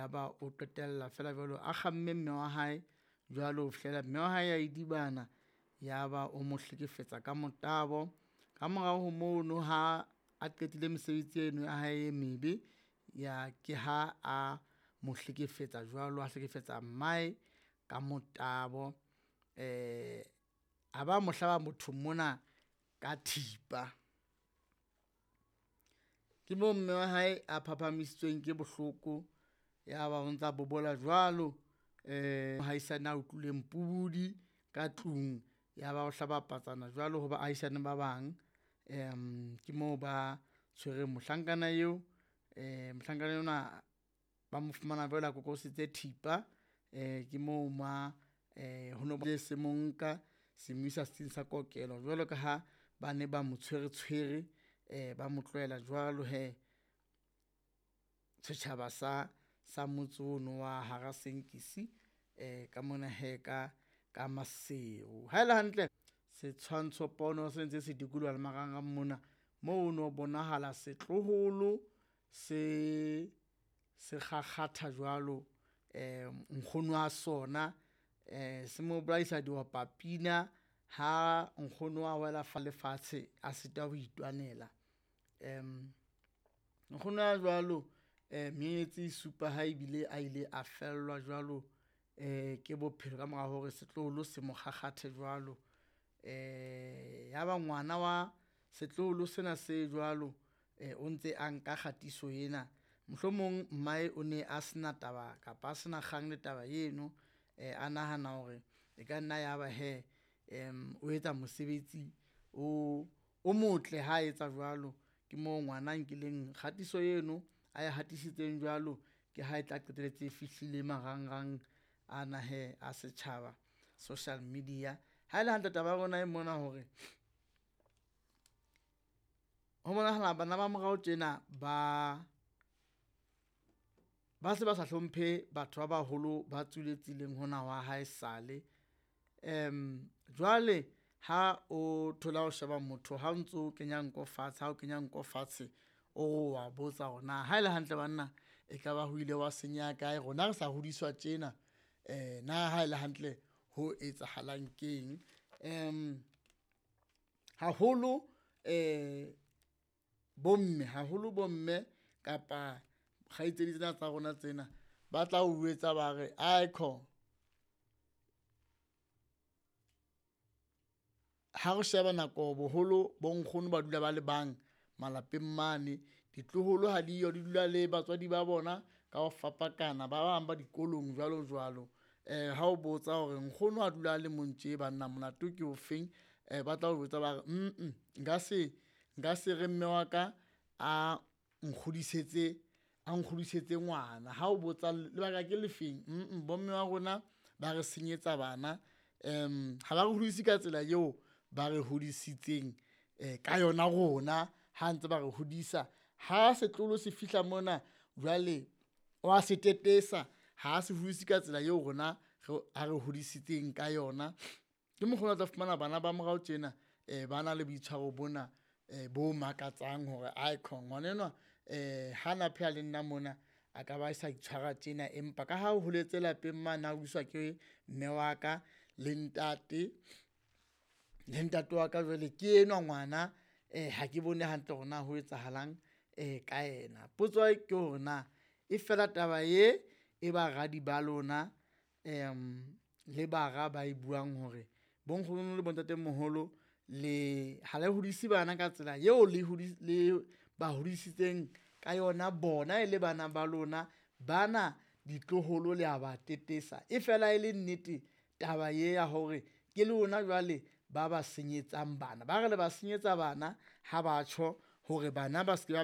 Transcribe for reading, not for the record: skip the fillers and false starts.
Yaba o qetella feela jwalo a kgamme mme wa hae jwalo ho fihlela mme wa hae a idibana, yaba o mo hlekefetsa ka motabo. Ka morao ho mono ha a qetile mesebetsi eno ya hae e mebe, ya ke ha a mo hlekefetsa jwalo, a hlekefetsa mmae ka motabo a ba mo hlaba mothong mona ka thipa. Ke moo mme wa hae a phaphamisitsweng ke bohloko, ya ba o ntsa bobola jwalo. Mohaisane a utlwileng pubudi ka tlung ya ba o hlaba patsana jwalo ho baahisane ba bang. Ke moo ba tshwereng mohlankana eo, mohlankana enwa ba mo fumana jwale a kokositse thipa. Ke moo ma ho se mo nka se mo isa setsing sa kokelo jwalo ka ha ba ne ba mo tshwere tshwere, ba mo tlohela jwalo hee. Setjhaba sa motse ono wa ha Rasenkisi ka mona hee ka Maseru. Ha ele hantle setshwantsho pono se ntse se dikoloha le marangrang mona, moo no bonahala setloholo se se kgakgatha jwalo nkgono wa sona se mo bolaisa diopa pina ha nkgono a wela fa lefatshe, a sitwa ho itwanela. Nkgono ya jwalo menyenyetsi e supa ha ebile a ile a fellwa jwalo ke bophelo ka mora hore setloholo se mo kgakgathe jwalo. Ya ba ngwana wa setloholo sena se jwalo o ntse a nka kgatiso ena, mohlomong mmae o ne a sena taba kapa a sena kgang le taba eno. A nahana hore e ka nna ya ba hee o etsa mosebetsi o motle ha etsa jwalo. Ke moo ngwana a nkileng kgatiso eno ae hatisitseng jwalo, ke ha e tla qetelletse e fihlile marangrang ana hee a setjhaba social media. Ha ele hantle taba ya rona e mona hore, ho bonahala bana ba morao tjena ba, ba se ba sa hlomphe batho ba baholo ba tswileng tseleng hona wa haesale. Jwale ha o thola ho sheba motho ha o ntso kenya nko fatshe, ha o kenya nko fatshe, o wa botsa hore na haele hantle banna e ka ba ho ile hwa senyeha kae, rona re sa hodiswa tjena na haele hantle ho etsahalang keng. Haholo bomme haholo bomme kapa kgaitsedi tsena tsa rona tsena ba tla o jwetsa ba re aikhona. Ha re sheba nako boholo bo nkgono ba dula ba le bang malapeng mane, ditloholo ha diyo di dula le batswadi ba bona ka ho fapakana, ba bang ba dikolong jwalo jwalo. Ha o botsa hore nkgono a dula a le mong tje banna molato ke ofeng, ba tla o jwetsa ba re nka se re mme wa ka a nkgodisetse, a nkgodisetse ngwana. Ha o botsa lebaka ke le feng bomme ba rona ba re senyetsa bana ha ba re hodise ka tsela eo ba re hodisitseng ka yona rona ha ntse ba re hodisa. Ha setloholo se fihla mona jwale wa se tetesa ha se hodise ka tsela eo rona re a re hodisitseng ka yona. Ke mokgwa ona o tla fumana bana ba morao tjena ba na le boitshwaro bona bo makatsang hore aikhona ngwana enwa ha na phela le nna mona, a ka ba sa itshwara tjena, empa ka ha o holetse lapeng mane, a hodiswa ke mme wa ka le ntate le ntate wa ka. Jwale ke enwa ngwana ha ke bone hantle hore na ho etsahalang ka yena. Potso ke hore na e fela taba ye e baradi ba lona le bara ba e buang hore bo nkgono le bo ntatemoholo le ha le hodise bana ka tsela eo le le ba hodisitseng ka yona bona e le bana ba lona, bana ditloholo le a ba tetesa. E fela e le nnete taba ye ya hore ke lona jwale ba ba senyetsang bana, ba re le ba senyetsa bana ha batjho hore bana ba se ke ba.